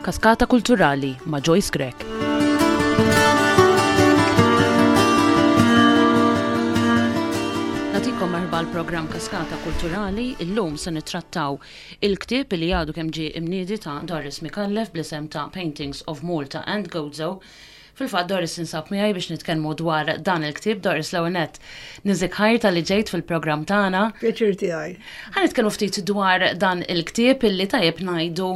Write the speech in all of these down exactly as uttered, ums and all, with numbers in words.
Kaskata Kulturali ma' Joyce Grech. Nagħtikom merħba l-programm Kaskata Kulturali. Illum se nittrattaw il-ktieb li għadu kemm ġie imniedi ta' Doris Micallef bl-isem ta' Paintings of Malta and Gozo. Fil-fatt, Doris tinsab miegħi biex nitkellmu dwar dan il-ktieb. Doris, l-ewwel nett niżik ħajr talli ġejt fil-programm tagħna. Pjaċir tiegħi. Ħa nitkellmu ftit dwar dan il-ktieb illi tajjeb ngħidu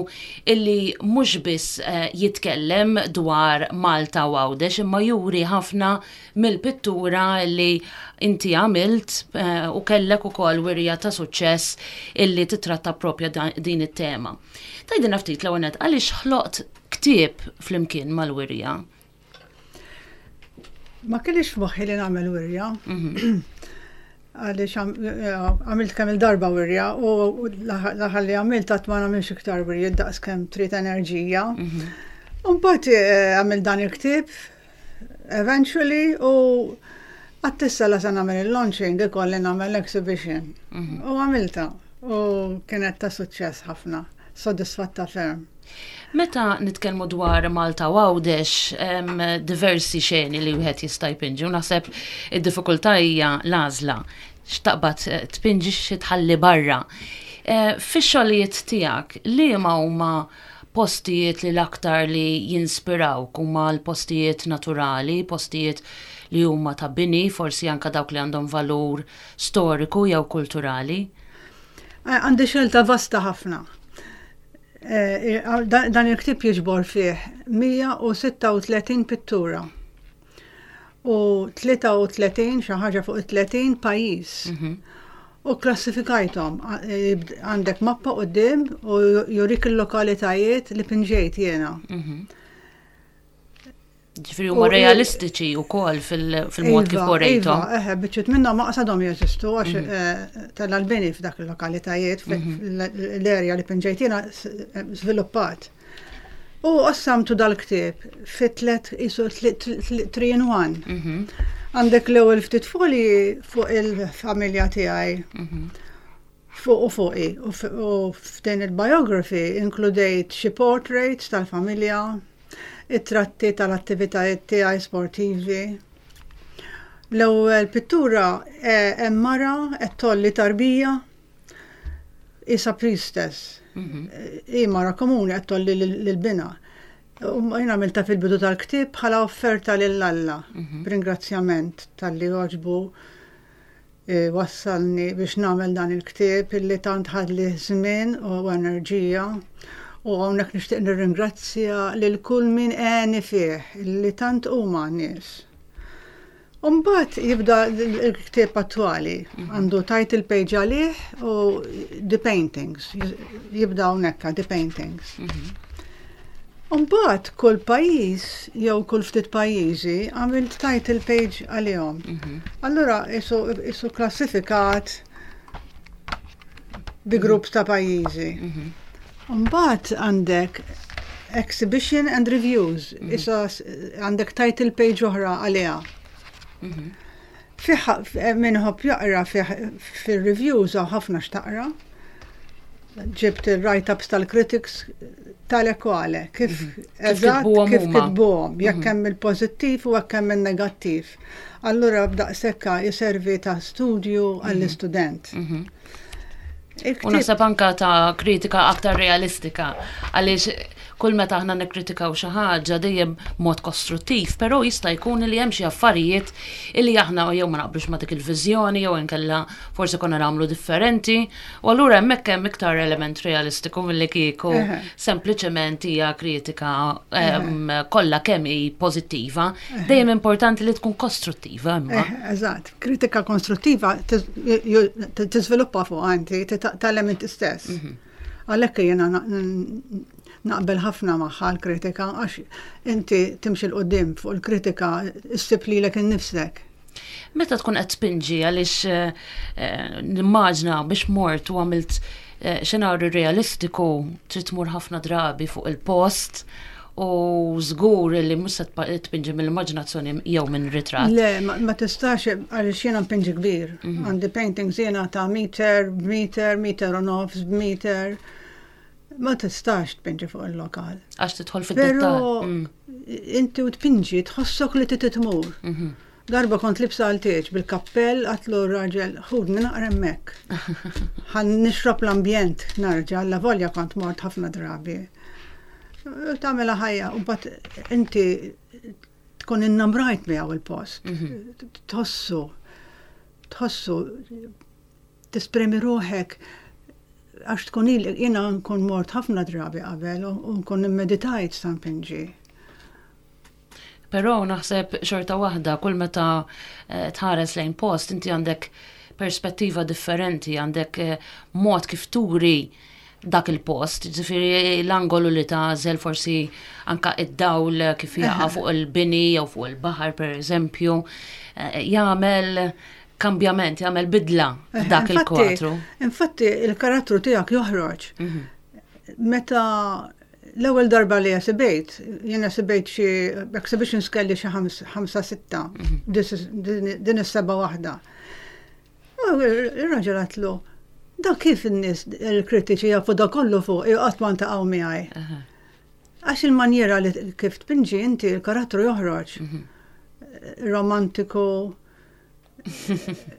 illi mhux biss eh, jitkellem dwar Malta u Għawdex, imma juri ħafna mill-pittura illi inti għamilt eh, u kellek ukoll wirja ta' suċċess illi titratta propja din it-tema. Tgħidilna ftit, l-ewwel nett, għaliex ħloqt ktieb flimkien mal-wirja? Ma kellix f'moħħi li nagħmel wirja. Mhm. Għaliex għamilt kemm il-darba wirja u l-aħħar li għamilt għedt ma nagħmilx iktar wirja daqs kemm trid enerġija. Mhm. Mbagħad eh, għamilt dan il-ktieb eventually u għedt issa la se nagħmel il-launching, ikolli nagħmel exhibition. Mhm. U għamilta u kienet ta' suċċess ħafna, sodisfatta ferm. Meta nitkellmu dwar Malta u Għawdex, diversi xeni li wieħed jista' jpinġi u naħseb id-diffikultà hija l-għażla, x'taqbad eh, tpinġi, xi tħalli barra. Eh, fix-xogħlijiet tiegħek, liema huma postijiet li l-aktar li jinspirawk? Huma l-postijiet naturali, postijiet li huma ta' bini, forsi anka dawk li għandhom valur storiku jew kulturali? Eh, għandi xelta vasta ħafna. Eh, dan il-ktieb jiġbor fih mija u sitta u tletin pittura u tlieta u tletin, xi ħaġa fuq tletin pajjiż. Mhm. U klassifikajthom, għandek mappa quddiem u jurik il-lokalitajiet li pinġejt jiena. Mhm. Ġifieri huma realistiċi wkoll fil-mod kif iva, urejthom. Iva, eħe, biċċiet minnhom ma għadhomx jeżistu għax mhm. eh, tal-albini f'dak il-lokalitajiet, mhm. l-erja li pinġejt jiena żviluppat. U qassamtu dal-ktieb fi tlet, isu three in one. Mhm. Għandek l-ewwel ftit folji fuq il-familja tiegħi. Fuq u fuqi. U f'din il-biography inkludejt xi portraits tal-familja, it-tratti tal-attivitajiet tiegħi sportivi. L-ewwel pittura eh, hemm mara qed tgħolli tarbija, isa priestess. Mhm. Hi mara komuni qed tgħolli lil binha. U jien għamilta fil-bidu tal-ktieb bħala offerta lil Alla, mhm. b'ringrazzjament talli għoġbu e, wassalni biex nagħmel dan il-ktieb illi tant ħadli żmien u enerġija. U hawnhekk nixtieq nirringrazzja lil kull min għeni fih, li tant huma nies. Umbagħad jibda l-ktieb attwali, mhm. għandu title page għalih u the paintings, jibda hawnhekk the paintings. Mhm. Umbagħad kull pajjiż jew kull ftit pajjiżi għamilt title page għalihom. Mhm. Allura isu klassifikat bi grupp ta' pajjiżi. Mbagħad għandek exhibition and reviews. Mhm. Issa għandek title page oħra għaliha. Mhm. Fih min iħobb jaqra, fil-reviews hawn ħafna x'taqra. Ġibt il-write-ups tal-critics tal-ekwale, kif mhm. eżatt kif kitbuhom, jekk hemm il-pożittiv u jekk hemm il-negattiv. Allura b'daqshekk jiservi ta' studju għall-istudent. U naħseb anka ta' kritika aktar realistika, għaliex kull meta aħna nikkritikaw xi ħaġa dejjem mod kostruttiv, però jista' jkun li hemm xi affarijiet illi aħna jew ma naqblux ma' dik il-viżjoni jew inkella forsi konna nagħmlu differenti, u allura hemmhekk hemm iktar element realistiku milli kieku sempliċement hija kritika kollha kemm hi pożittiva. Dejjem importanti li tkun kostruttiva imma. Eżatt, kritika konstruttiva tiżviluppa fuq anti titgħallem inti stess. Mhm. Għalhekk jiena naqbel ħafna magħha l-kritika, għax inti timxi 'l quddiem fuq il-kritika, issib lilek innifsek. Meta tkun qed tpinġi, għaliex eh, eh, nimmaġna biex mort u għamilt eh, xenarju realistiku trid tmur ħafna drabi fuq il-post u żgur li mhux se tpinġi mill-immaġinazzjoni jew minn ritratt. Le, ma tistax, għaliex jiena npinġi kbir. Mhm. Għandi paintings jiena ta' meter, meter, meter u nofs, meter. Ma tistax tpinġi fuq il-lokal. Għax tidħol Pero fid-dettall. Mm. inti u tpinġi tħossok li trid tmur. Mhm. Darba kont liebsa għal tieġ bil-kappell, għedtlu r-raġel, "Ħudni naqra hemmhekk. Ħa nixrob l-ambjent narġa'," avolja kont mort ħafna drabi. U tagħmilha ħajja, u mbagħad inti tkun innamrajt miegħu il-post. Mhm. Tħossu, tħossu, tesprimi ruħek għax tkun il jiena nkun mort ħafna drabi qabel u u nkun immeditajt sa npinġi. Però naħseb xorta waħda, kull meta eh, tħares lejn post, inti għandek perspettiva differenti, għandek eh, mod kif turi dak il-post, ġifieri l-angolu li tagħżel, forsi anka id-dawl kif jaqa' fuq il-bini jew fuq il-baħar, per eżempju, eh, jagħmel kambjament, jagħmel bidla dak Infatti- il-kwadru. Infatti il-karattru tiegħek joħroġ. Mhm. Meta l-ewwel darba li esibejt, jien esibejt xi exhibitions, kelli xi ħams- ħamsa sitta, this is- din din is-seba' waħda. U Ir-raġel għedtlu, "Da kif in-nies il-kritiċi jafu da kollu fuq, qatt ma ntaqgħu miegħi?" Aha. Għax il-manjera li kif tpinġi inti, il-karattru joħroġ. Mhm. Romantiku,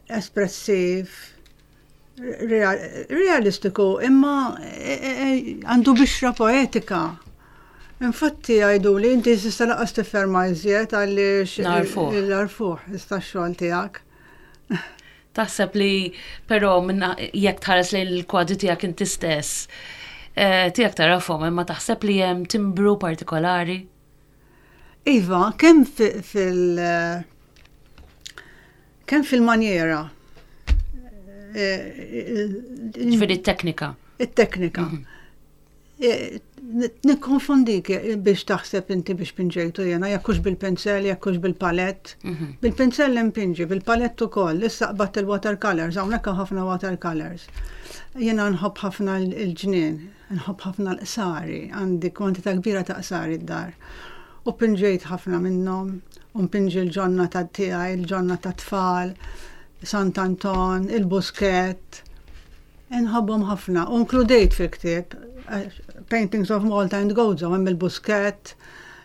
espressiv, real- realistiku, imma e- e- e, għandu bixra poetika. Infatti għajdu li inti s'issa lanqas tifferma iżjed għaliex Narfuh. L-arfuh, ista x-xogħol tiegħek. Taħseb li però minna jekk tħares lejn il-kwadri tiegħek inti stess, eh, tiegħek tarafhom, imma taħseb li hemm timbru partikolari? Iva, kemm fi- fil- kemm fil-manjera. eh, Ġifieri t-teknika. It-teknika. Eh, Nikkonfondik biex taħseb inti biex pinġejtu jena, jekk hux bil-pensel, jekk hux bil-palett. Mhm. Bil-pensel impinġi, bil-palett ukoll, issa qbadt il-watercolors, hawnhekk hawn ħafna watercolors. Jena nħobb ħafna il-ġnien, nħobb ħafna l-qsari, għandi kwantità kbira ta' qsari d-dar. U pinġejt ħafna minnhom, u npinġi l-ġonna ta' tiegħi, il-ġonna ta' tfal, Sant'Anton, il-Buskett. Nħobbhom ħafna. U inkludejt fil-ktieb eh, Paintings of Malta and Gozo, hemm il-Buskett,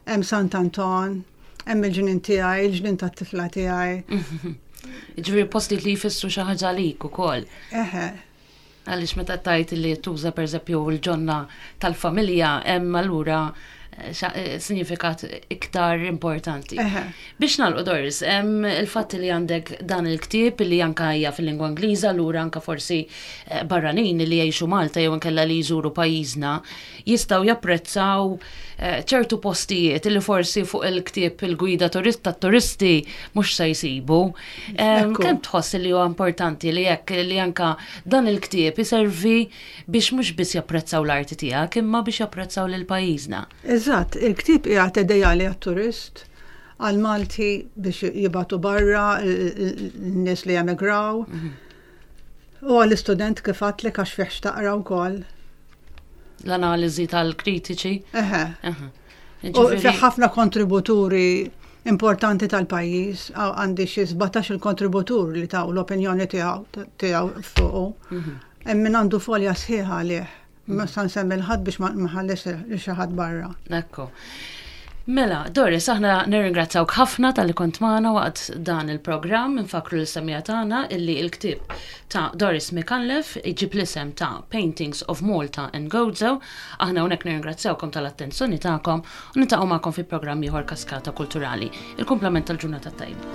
hemm Sant'Anton, hemm il-ġnien tiegħi, il-ġnien tat-tifla tiegħi. Ġifieri postijiet li jfissru xi ħaġa għalik ukoll. Eħe, Għaliex meta tajt li tuża, per eżempju, l-ġonna tal-familja, hemm allura eh, xa- eh, sinifikat iktar importanti. eħe. Biex nagħlqu, Doris, hemm il-fatt li għandek dan il-ktieb li anka hija fil-lingwa Ingliża, allura anka forsi eh, barranin li jgħixu Malta jew inkella li jżuru pajjiżna jistgħu japprezzaw eh, ċertu postijiet li forsi fuq il-ktieb il-gwida turist tat-turisti mhux se jsibu. Em, Ekku. Kemm tħoss li huwa importanti li jekk li anka dan il-ktieb iservi biex mhux biss japprezzaw l-arti tiegħek imma biex japprezzaw lil pajjiżna? Eżatt, il-ktieb qiegħed ideali għat-turist, għal-Malti biex jibagħtu barra, n-nies li emigraw. U għall-istudent, kif għedtlek, għax fih x'taqra wkoll. L-analiżi tal-kritiċi. Eħe. Aha. U Ġifieri- fih ħafna kontributuri importanti tal-pajjiż, għaw għandi xi sbatax il-kontributur li taw l-opinjoni tiegħu tiegħu fuqu. Hemm min għandu folja sħiħa għalih. Ma sa nsemmi 'l ħadd biex ma nħallis lil xi ħadd barra. Ekku. Mela, Doris, aħna nirringrazzawk ħafna talli kont magħna waqt dan il-programm. Nfakru lis-semmiegħa tagħna illi il-ktieb ta' Doris Micallef iġib l-isem ta' Paintings of Malta and Gozo. Aħna hawnhekk nirringrazzawkom tal-attenzjoni tagħkom u niltaqgħu magħkom fi programm ieħor Kaskata Kulturali. Il-kumplament tal-ġurnata tajba.